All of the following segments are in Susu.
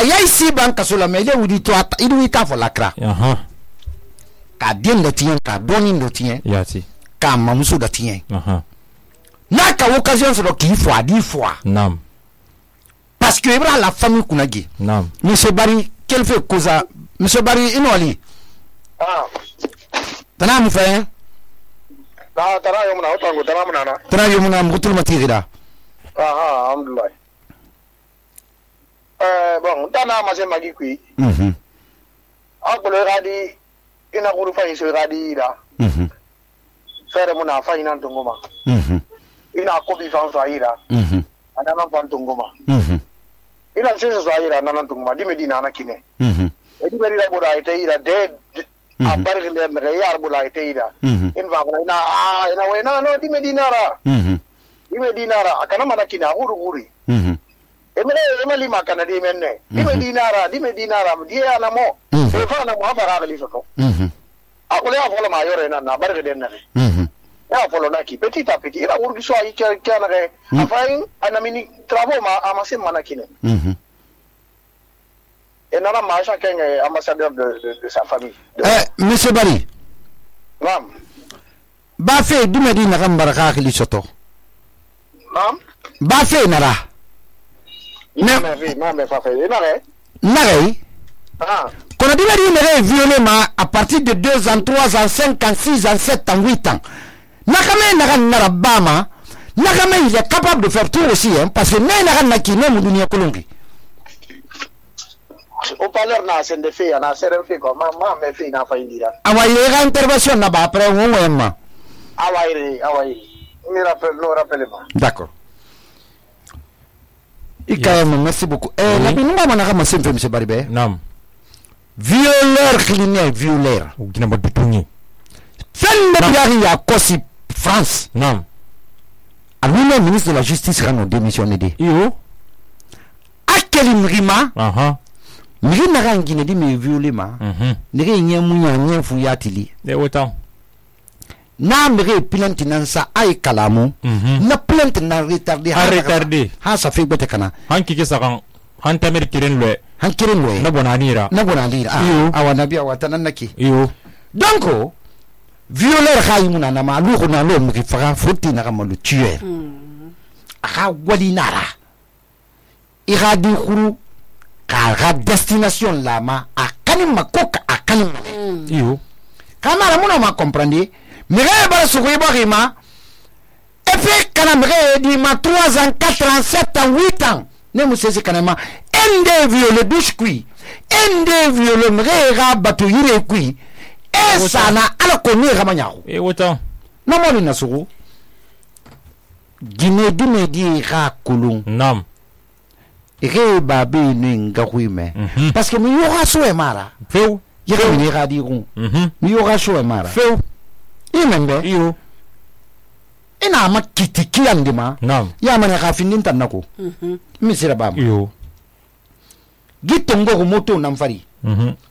ayai si ban kaso la mais le wudi to idu ita fo lakra ka den da tien ka donin do tien yati ka mamuso da tien na ka occasion so ki fo adi fo nam parce que ibra la famille kunagi nam monsieur Bari quel fait causa monsieur Bari inoli tana mu fa tara yomuna utango tara munana tara yomuna mutul matirida alhamdulillah bon dana ma se magi kui akolo radi ina kuru fa iso radi da fere muna fa ina tungoma ina ko bi fa fa ira anana fa tungoma ina sese fa ira anana tungoma di medina na kine edi beri la boda ite ira de abar gele mere yar bola ite ira in va ina wena no di medina ra di medina ra akana mana kina guri emeli makana di menne di medina ra di ana mo e fa na mo abara gali soto akole afolo ma yore na barke den na ya folo na ki petit à petit ira urgi so ayi kana re afain anamini travaux ma amase manakine et nana ma chacun est ambassadeur de sa famille monsieur Bari nam ba fe du medina kan baraka gali soto nam ba fe nara mais fa fait nare qu'on a dit qu'il violé à partir de 2 ans, 3 ans, 5 ans, 6 ans, 7 ans, 8 ans. Nakame Narabama, Nakame il est capable de faire tout aussi, hein, parce que Naki n'est pas Colombi. Au parleur n'a pas de fait, on a serré fait comme maman, mais fait n'a pas eu d'ira. Ah ouais, il y a intervention là-bas après au moins. Ah ouais, nous rappelez-moi. D'accord. Merci beaucoup. La binouba manaka masin fait monsieur Baribé. Nam. Violeur criminel, violeur. Ou qui n'a pas de tourner. Femme de à Kossi, France. Nam. À lui-même, ministre de la Justice, rend démissionné. Yo. À quel rima? Miri n'a rien qui ne dit mais violé ma. N'est rien mouillé, rien fouillatili. Et autant. Na mere plainte nan sa ay kalamu na plainte na retardé ha sa fi bete kana han kike sakan han tamer kiren le na bonanira awana biya watanan naki yo donc violeur khaymuna na ma lu khona lo mu fa foti na kama lu tuer aha wali nara iradi khuru ka destination la ma akani makoka akani yo kamara muna ma comprendre Mire bara sugui barima et puis kana mire di ma 3 ans 4 ans 7 ans 8 ans ne mu sesi kana ma ende viole biscuit ende viole mire ga batu yire kui e sana ala ko ni ga manyago e wota no mo na sugu gine di ga kulun nam e ba be ni nga kuime parce que mi yo ga so e mara feu yere ni ga di gun mi yo ga so e mara feu imembe iyo ina ma kitiki andima nam ya mane ka findin tanako misira bam iyo gitongo ko moto namfari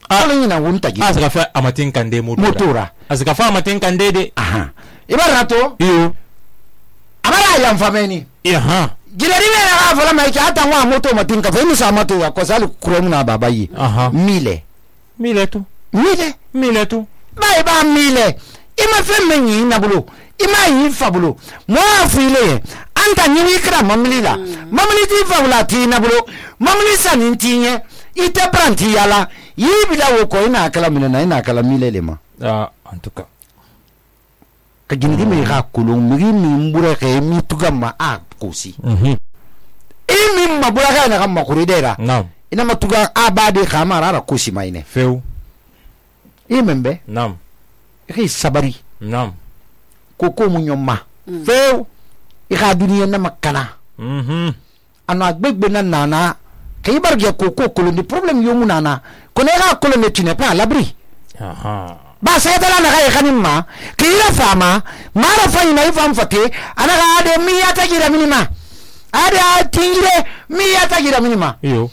ala ina wunta gi asaka fa amatin kande motora asaka fa amatin kande de ibarato iyo abara ya mfameni gireri me na fa la mai hata wa moto matin ka fa ni sa moto ya ko salu krom na babayi mile tu bai ba mile ima femeni na bulo ima yi fabulo mo afile anta nyi kra mamlila mamli ti fabula ti na bulo mamli sanin tinye ite pranti yala yibila wo ko ina kala mina ina kala mile lema en tout cas ka gindi me ga kulun mi mbura ke mi tugama a kosi imi mabura ga na kama kuridera ina matuga abade khamara ra kosi maine feu imembe nam sabari nam koko munyoma feu ika duniya na makana ano agbegbe na nana kay barge koko koloni problem yo munana kono ga koloni tu n'es pas à l'abri ba sai dala na ga kanimma kila fama mara fayina ifam fate ana ga de miya ta gira minima ada tingire miya ta gira minima yo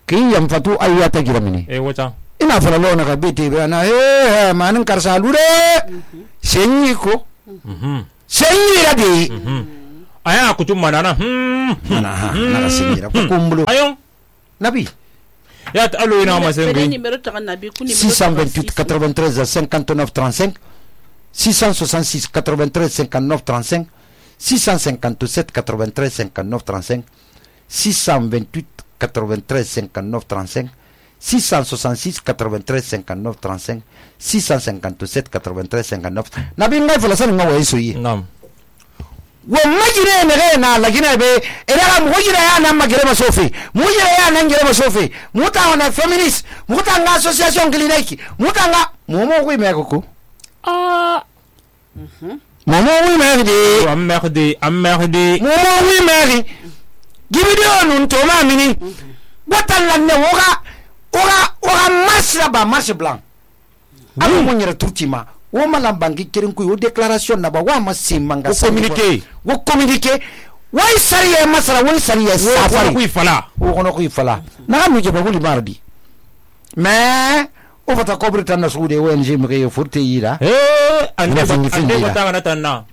kiyam fatu ayata gira mini wata ina fara lona ka biti bana manin karsa lure senyi ko senyi radi aya kutum manana na singira ko kumbulo ayo nabi ya ta alo ina masengi numéro ta nabi ku 628 93 59 35 666 93 59 35 657 93 59 35 628 93 59 35 666 93 59 35 657 93 59 nabi ngai fala san ngawa yeso yi nam wo majire ne na lagina be era mo jira ya na magire masofi mo jira ya na ngire masofi muta na feminist muta nga association clinique muta nga momo wi me ko momo wi me di amerde momo wi me gibidio nun to ma mini botan la ne ora masraba marche blanc amu mo nyira tutima wo malam bangi kirin ku déclaration na ba wa masimanga wo communiquer way sariya masara way sariya safari ku fala wo kono ku fala na mu je ba wuli mardi mais o fata kobri tan na suude ONG mi ke forte yira ande bata na tanna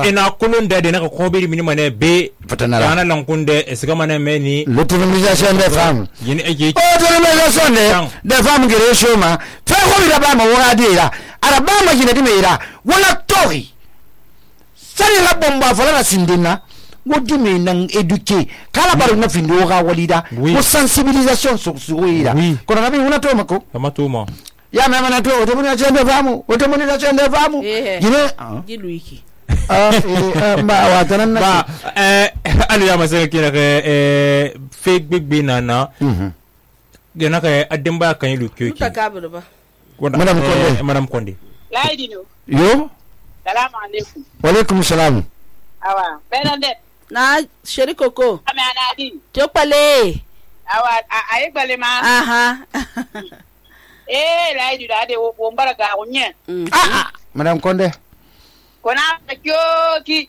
ina kulun de na ko biri minima ne be yana lankunde esgama ne meni l'autonomisation des femmes yini eje autonomisation des femmes gere shoma fa ko bi da ba ma wora dira ara ba ma jina dimira wala tori sari la bomba fala na sindina wodi me nan eduquer kala baru na findo ga walida ko sensibilisation sur suira kono nabi una to mako amatuma ya mama na to autonomisation des femmes autonomisation des femmes yine giluiki ba wa tanan na alu ya masaka kira fake big binana gena ka ademba kan yi lukyo ki takabur ba madam konde laidino yo salamu alaikum wa alaikum salam awa benande na sherikoko amana din to pale awa ayi bale ma aha laidu da de wo mbaraga onye madam konde kona kyoki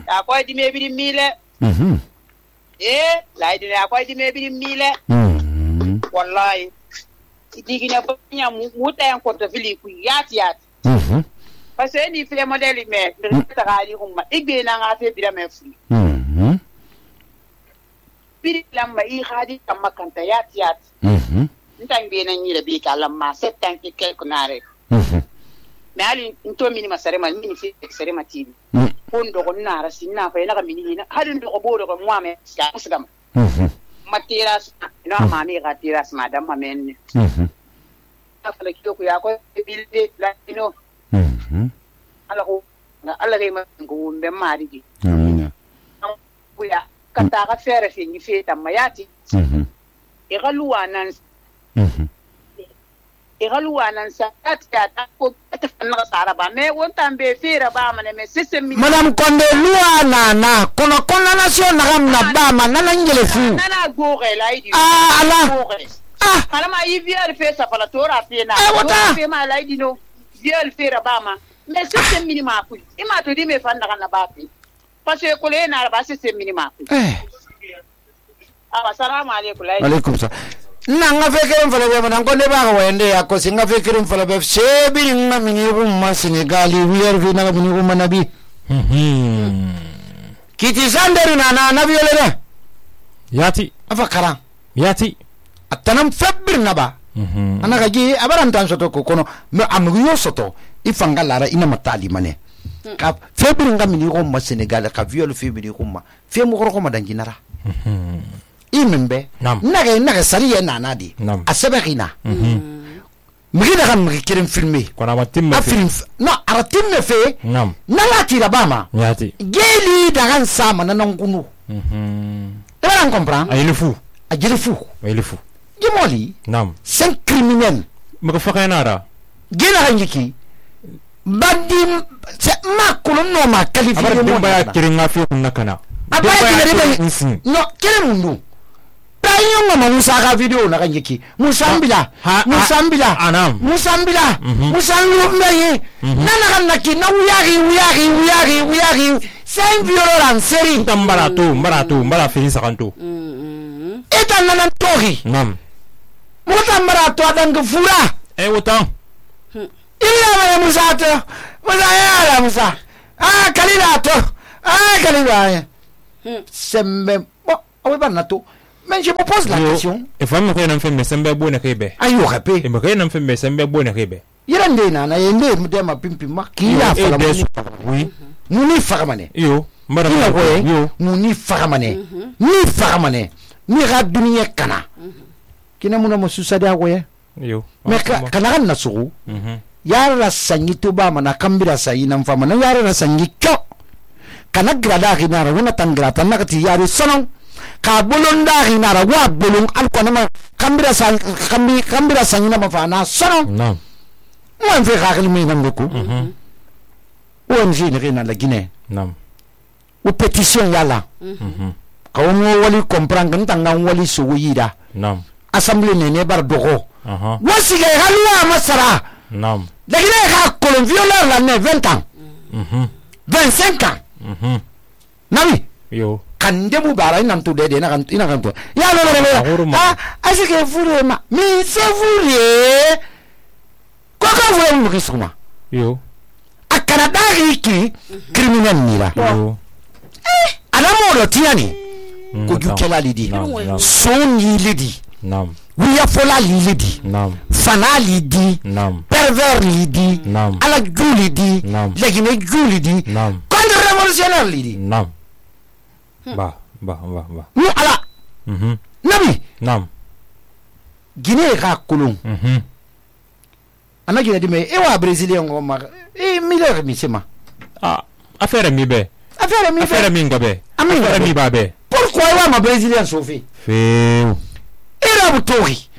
akwai di mebiri mile laidu akwai di mebiri mile wallahi digina banya muta yan konta fili ku yati parce ni fait modèle mais ta gali humma igbe na nga fe bira me fu biri lamma I khadi kamma kanta yati ntan be nan yire bi kalamma setan ki kel kunare mais ali nto mini masare mal mini fi sare matini kondo ko nara sinna fa ina mini ina hadin do ko bodo ko muame ya usgam matiras no mami ga tiras madam mamen afala kiyo ku ya ko bilde latino ala re ma ngo mbe marigi amina ku ya kata ga fere fi ni feta mayati igaluwanan sa ta ko ta fanna sara ba me wonta be fera ba mane me system mi madam konde luana na kono nation na gamna ba man na ngele fu nana goge laidi ala ala ma yivier fe sa fala tora fe na fe ma laidi no viol fera ba ma me system minima ku ima to di me fanna kana ba fi parce que ko le na ba system minima ku assalamu alaikum laidi alaikum salam na nga fekirin fala be man ko ne ba ga wende ya ko singa fekirin fala be sebi nga mini rumma Senegali wier fi na mini rumma nabi kiti sanderi na nabi ole yati afakara yati atanam febir naba anaka gi abaran tan soto ko kono me amgu yo soto ifanga lara ina matali mane ka febir nga mini rumma Senegal ka viol febir rumma fe mo ko ma danginara imembe naga sariye nana di asebekina migida kan mikirin filme kona matim film no aratim me fe nala tira bama yati geli dagan sama nanan kunu tu comprends ayilifu jimoli nam c'est criminel mako fakanara gena hanjiki badim c'est ma kolonno ma qualifié mo ba kiringa fi kunakana abaya no kele mundu tayo ngoma Musa ka video na kanjiki Musambila anam Musambila mbaye nana kanaki na uyari c'est violent série mbara fini sakanto eta nana tori nam mota mbarato adanga fura wotan illa ma Musa kalila to sembe bon ba nato. Mais je me pose la question. Et femme ko nan femme sembe bona kebe. Ayo rapé. E mbaka nan femme sembe bona kebe. Yirande na yende mudema pimpi makki ya fala oui. Muni faramane. Yo, mara yo muni faramane. Ni faramane. Ni ra duniya kana. Kina muna mususa da goye. Yo. Mais kana kan nasuru. Yara sanyi to ba mana kambira sayi nan fama na yara sanyi kyo. Kana grada ginara wona tangrata nakati yari sonon. Ka bolon da ginara wa bolon alko na kambira sanyi na mafana sonon. Non. Moi je vais me nan beaucoup. ONG ni rena la Guinée. Non. Ou pétition yala. Ka wo wali comprendre ntanga wali so yida. Non. Assemblée nene bar dogo. Wasi ga halwa masara. Non. La Guinée a colon violeur la ne 20 ans. 25 ans. Nami. Yo. Kande mu bara ina to dede na kan to. Ya lo. Asike fure ma. Mi se fure. Koko vule mu kisuma. Yo. Akana dari ki criminel nira. Yo. Alamo do tiani. Ko jukela lidi. Son lidi. Nam. Wiya fola lidi. Nam. Fana lidi. Nam. Pervers lidi. Nam. Ala julidi. Nam. Legine julidi. Nam. Contre-révolutionnaire lidi. Nam. Ba. Mu ala. Nabi. Nam. Guinée ka kolon. Ana Guinée dime e wa brésilien ngoma. E miller mi sema. Ah, affaire mi be. Affaire mi ngobe. Affaire mi babe. Pourquoi wa ma brésilien sofi? Feu. Irabu tori.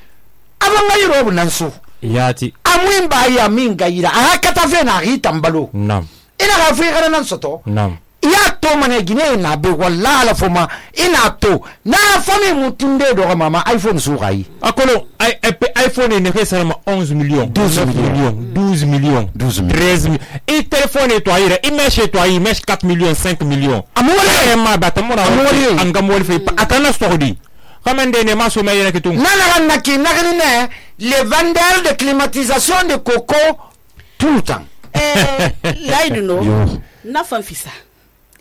Abanga yirobu nanso. Yati. Amwimba ya minga ira. Aha katafe na rita mbalo. Nam. Ina Afrika nan soto. Nam. Ya to mane Guinée na be walla la foma ina to na fami mutunde do mama iPhone surai. Akolo iPhone ne fait seulement 11 millions. 12 millions. 13 millions. Et téléphone et toi il mesh toi il mesh 4 millions 5 millions. Amore ma batamora angamol fait atana stordi. Kamende ne maso mayena kitu. Nana ne les vendeurs de climatisation de coco tout le temps. Là il no na fanfisa.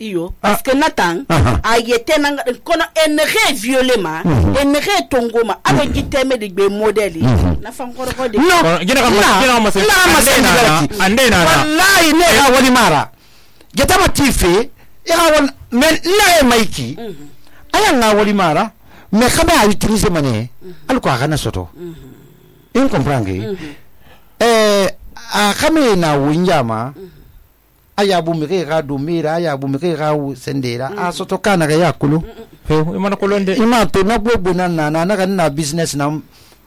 Iyo parce que Nathan a été nanga kono enre violema enre tongoma abo giteme de be modeli na fankoro ko de no gina ma se ande na wallahi ne ha wali mara geta ma tife ya won men na e maiki aya na wali mara mais kama a utiliser mané al ko kana soto in comprendre a kame na winjama aya bu mire ga do mira aya bu mire ga sendera a soto kana ga yakulu imana kolonde ima to na bobo na kan na business na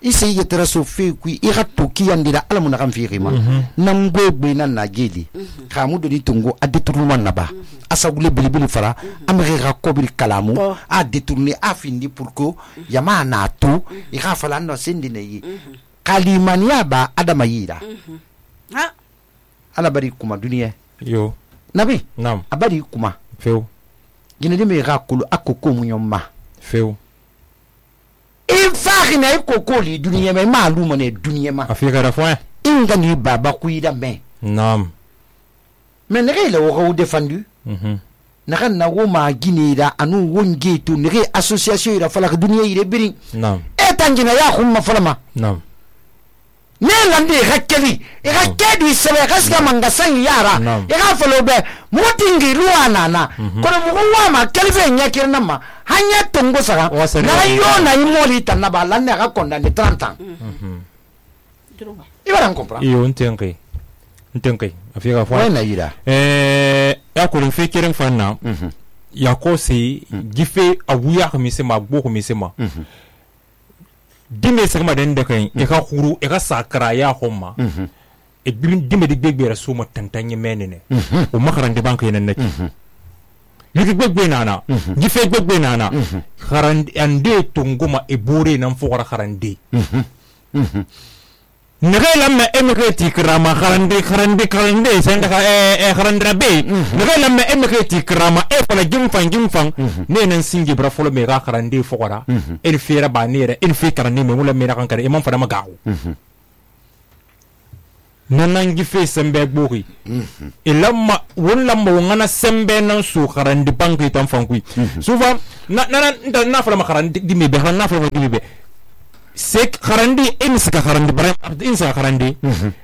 isi yetera so fi ku I ga to ki yandira alamu na kan fi rima nam bobo na geli kamu do ni tungo a détournement na ba asa gule bilibili fara amire ga kobiri kalamu a détourner a findi pour que yama na to I ga fala no sendine yi kalimania ba adama yira ha ala bari kuma duniya yo nabi nam abari kuma feu gina de me rakulu akoko munyoma feu ifari na ikoko li duniya me maluma ne duniya ma afika da foi inga ni baba kuida me nam mais ne le wo défendu na kan na wo ma ginira anu wonge to ne association ira fala duniya ire biri nam e tangina ya khumma falama nam ne lande hakeli hakedi sebe kaska mangasan yara ga falo be mutingi ruwana na kono muwa ma kelfe nyakir na ma hanya tongo sara na yo na imoli tanaba lanne ga konda ni 30 ans ibara comprendre iyo ntenke afika fwa na ira ya ko le fekeren fanna ya ko se gife awuya ko misema gbo ko misema dime sagma den de kan e ka khuru e ka sakra ya homma e dime de gbegbe suma tantanye menene o makarande banko yenen nati yiki gbegbe nana gife gbegbe nana kharande ande tunguma e bore nan fokora kharande nege lamme emeke tikrama kharande senda ka kharandra be nege lamme emeke tikrama e fala jimfan ne nan singi bra folo me ga kharande fokora el fera ba nere el fe karane me mula me na kankare e man fada magawo nanangi fe sembe gbogi ilamma wonlamma wongana sembe nan su kharandi banki tan fankui souvent na fala kharandi dimi be na fala dimi be sek kharandi imsika kharandi bara insa kharandi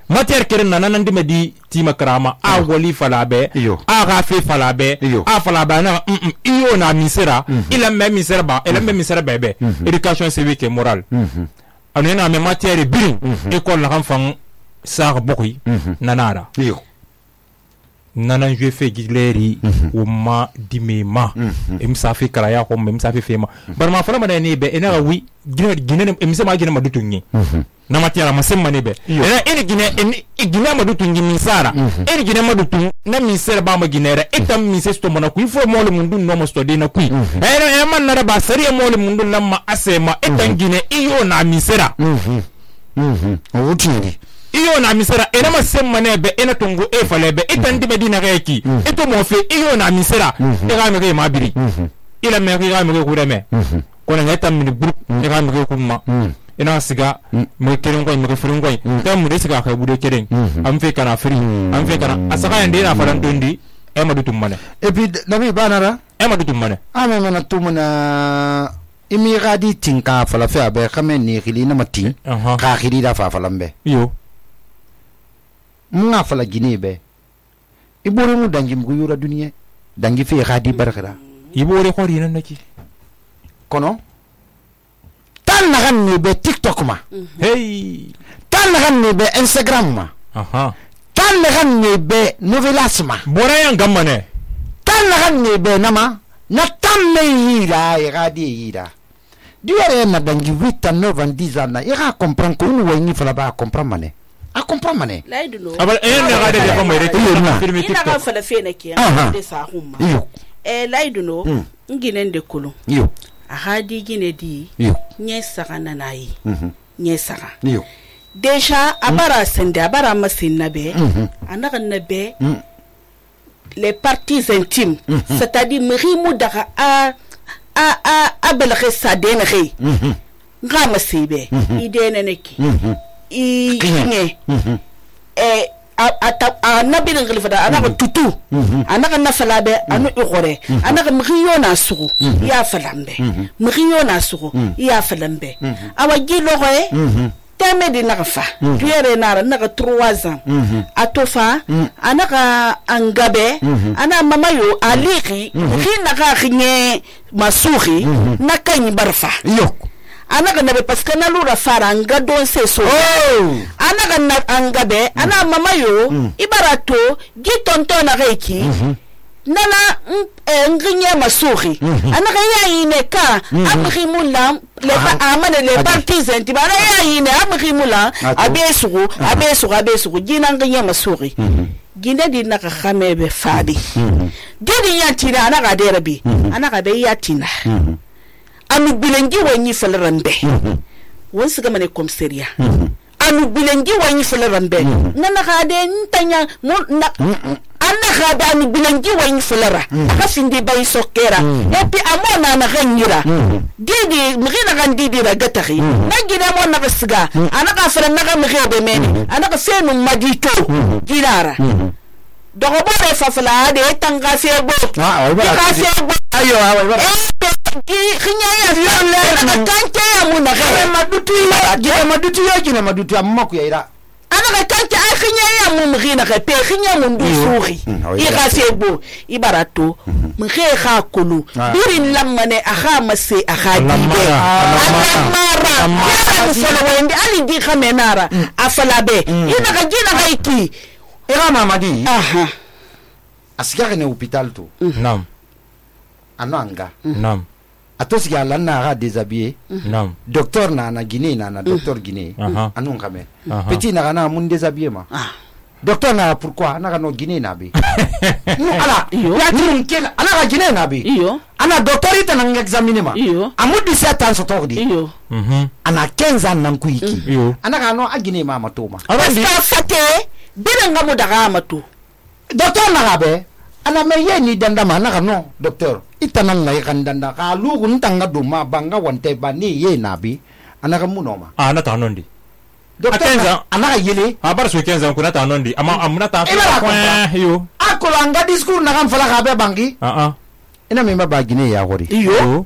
matière keren nanan dimi di tima krama a wali fala be a ga fe fala be a fala ba na iyo na misera ila même misera ba ila même misera bebe éducation civique et morale anena me matière birin école na kan fang sar bokui nanara nanan je fe gidleri o ma dimema imsa fe karaya ko imsa fe fema bar ma fara madani be ena wi gine imsa ma gine madutunyi na matiara masemma ne be ena ene gine madutunyi misara ene gine madutun na misera ba ma ginera etam misesto mona ku ifo mole mundu no mo stode na ku ena man na ba sariya mole mundu namma asema etan gine iyo na misera wutiri iyo na misera ena masemma ne be ena tongo e fale be etan dibe dina reki eto mo fe iyo na misera e ga me ma biri ila me ga me ko reme ko na ngata mi buru e ga me ko ma ina siga mo keren ko mo furin ko ta mu de siga ka bude keren am fe kana firi am fe kana asaka ende na faran dondi e ma dutum mane et puis nabi banara e ma dutum mane ame mana tumuna imi gadi tinka fala fe abe kame ni khili na matin ka khili da fa falambe yo munga fala gine be ibore mu dangi mu yura duniya dangi fe gadi barkara ibore ko rina naki kono tan na gan ni be TikTok ma hey tan na gan ni be Instagram ma tan na gan ni be novelas ma bora yan gamane tan na gan ni be nama na tan me yira e gadi yira diore na dangi 8 ans 9 ans 10 ans e ga comprendre ko unu wayni fala ba comprendre mane a comprendre mane laiduno abal ne ga de ko mere to filmi ina ga fala fe na ke de sa humma laiduno nginen de kulu yo a hadi gine di nye saka na nayi nye saka yo deja abara sende abara masin be anaka nabe les parties intimes c'est-à-dire mrimu daga a belge sa denre nga masibe idene neki I nye a nabin ngilfada anaka tutu anaka nafalabe anu igore anaka mriyo na sugu ya falambe mriyo na sugu ya falambe awa gilo goe teme di nakafa tuyere nara naka 3 ans atofa anaka angabe ana mamayo aliki naka khinye masuhi nakanyi barfa yo anaka nabe paske na lura fara anga don se so anaka na angabe ana mamayo ibarato gitonto na reiki nana nginya masuhi anaka yaine ka amrimula le ba amane le parties intibara yaine amrimula abesugu gina nginya masuhi gina di naka khamebe fadi gidi yatina anaka derabi anaka be yatina anu bilengi wanyi falarambe wonsu gama ne komseria anu bilengi wanyi falarambe nana khade ntanya anna khade anu bilengi wanyi falara akasindi bay sokera epi amona na ganyira didi mghina gandidi ra gatari nagina mo na gasiga anaka fara naga mghebe meni anaka fenu madito girara dogo bare fafala de tanga sebo ka sebo ayo kinya ya fiolle na kante ya muna madutu ya madutu amma ku yaira ana kante a kinya ya mu mghina ka pe kinya mu ndusuri I ka sebo ibarato mghe kha kulu birin lamane aha mase aha dibe amara solo wende ali di khamenara afalabe ina ka jina haiki era mamadi aha asigare ne hôpital to nam ananga nam atosi ya lanna ga déshabillé nam docteur na Guinée na docteur Guinée anu ngame petit na na mun déshabillé ma docteur na pourquoi na no Guinée na bi ala ya tin kel ala ga Guinée na bi ana docteur ita na examiner ma amu 17 ans sotordi ana 15 ans nan kuiki ana ga no a Guinée ma matoma asta fate biranga mo daga matu docteur na ga be ana me ye ni danda ma na no docteur itanan na yakandanda ka lugu ntanga duma banga wante ba ni ye nabi ana ka munoma ana ta nondi docteur 15 ans anaga yele a bar so 15 ans kuna ta nondi ama amuna ta yo akolo anga discours na kan fala ka be bangi ina me ba Guinée ya hori yo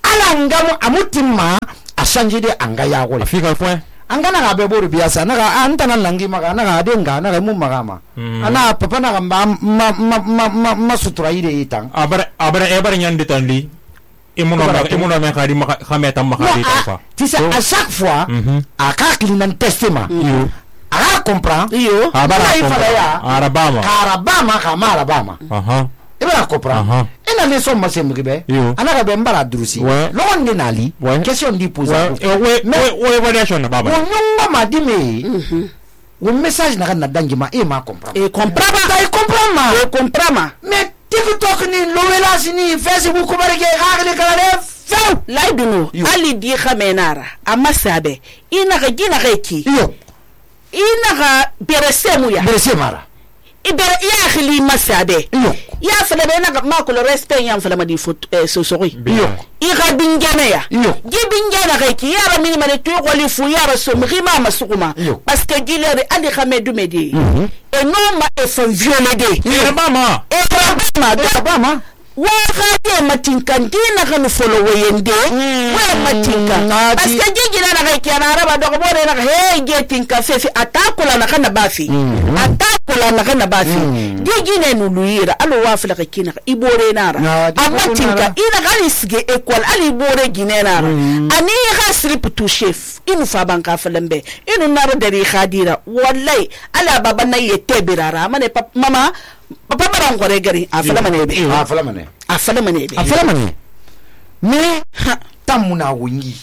ala ngamo amutimma a changer de anga ya hori Afrika point anga na be boru biasa na antana nangi maga na denga na mu magama ana papa na ma sutura ide itang abara nyande tanli imono me khadi khameta ma khadi fa tu sais à chaque fois a ka klinan testema a comprend arabama ibara comprend ina le so masem gibe anaka be mbara drusi logon de nali question di poser we variation na baba nyonga madime un message na dangi ma e ma comprend ma mais TikTok ni lowela sini Facebook ko bareke hagle kala fe laiduno ali di khamenara amasabe ina ga gina reki ina ga beresemu ya beresemara ibere ya khili masabe ya fala be na ma ko le respect ya fala ma di foot sosori ira bingana ya gibingana reki ya ba minima de to ko li fu ya ba so mrima masukuma parce que gilere ali khamedu medi et non ma e fon violer de mama wa khade matinka ndina kan follow yende wa matinka parce que gigila na reki na araba do ko bore na he getinka fefi atakula na kana bafi atakula na kana bafi digine nuluira alo wa fala kina ibore nara amatinka ina gani sige école ali bore ginera ani hasrip to chef inu fa banka falambe inu naro dari khadira wallahi ala baba na yete birara mane mama papa baran gore gari afala mane me tamuna wungi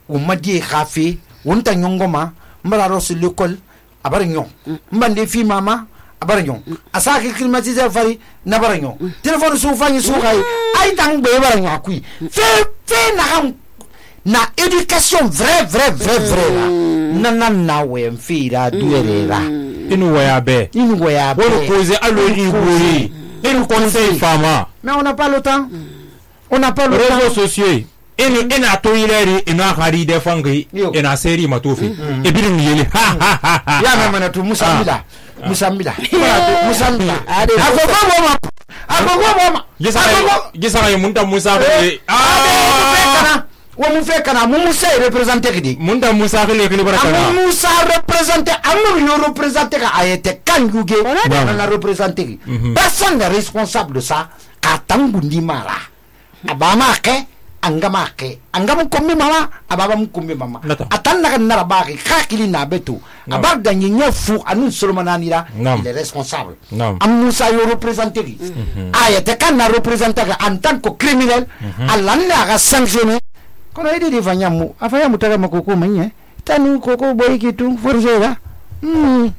umadi khafi wonta nyongoma mbara ro sur l'école abaranyo mbande fi mama abaranyo asaki climatiser fari na baranyo téléphone su fanyi su khay ay tang be baranyo akui fe na éducation vrai na we mfira duerera inu waya be wolo poser alo ibori inu conseil fama mais on n'a pas le temps réseaux sociaux ina to yileri ina khari de fangi ina seri matofi e birin yeli ya mama to musambila agogo gisa ya munta musa wa mu fe kana mu musa représenter kidi munta musa kele barakana musa représenter amu yo représenter ka ayete kanguge na représenter personne n'est responsable de ça ka tangundi mara abama ke angam kombi mama ababa mkombi mama atanna kan narabaki khakili na betu abagda nyinya fu anu solomananira il est responsable amusa yo représenter ayete kan na représenter en tant que criminel alanda ga sanctionner kono ide di fanyamu afanyamu taga makoko manye tanu koko boy kitu forjera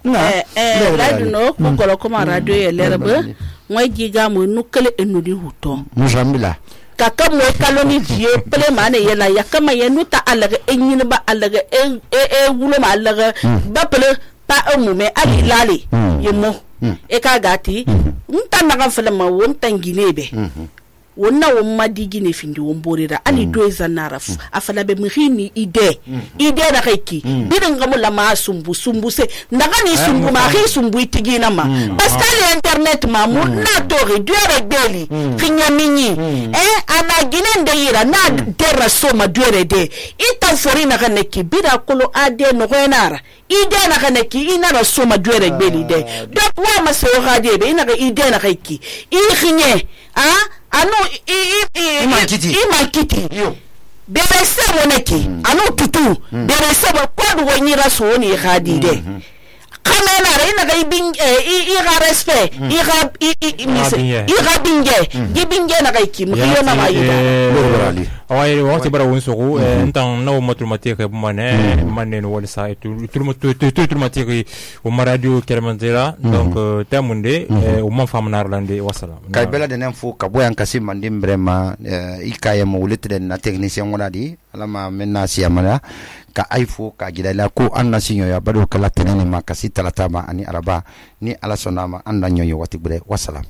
laduno ko kolo ko radio e lerbe ngoy giga mo nukale enudi huto mujambila kaka mo kaloni die pele mane yela yakama yenuta alaga enyina ba alaga wulo ma alaga ba pele pa umume ali lali yemo e ka gati nta naga fele ma wonta nginebe wonna womma digine findi womborira ani doeza naraf afala be mkhini ide na keki bidan gamula ma sumbu se ndagani sumbu ma khi sumbu itigina ma parce que internet ma mu na to réduire beli kinya minyi ana gine ndeyira na terra soma duere de ita forina kaneki bida kolo ade no renara ide na kaneki ina na soma duere beli de donc wa ma se radio be ina ga ide na keki i khinye ano imankiti bere sebo neki ano tutu bere sebo kwadu wanyira so ni khadide kamena reina ga iga respect iga binge na ga iki mkiyo na mayida awai wakati bara wonsoku ntan na matematique mane no wala sa matematique o radio kermanzera donc tamunde o man famnar lande wassalam kay bela denen fu ka boyan kasim mandim vraiment ikaye mo wulitre na technicien wala di alama menna siamala ka aifo ka gidala ko anna sinyo ya bado kala tenene makasi talatama ani araba ni ala sonama anda nyonyo wati bure wassalam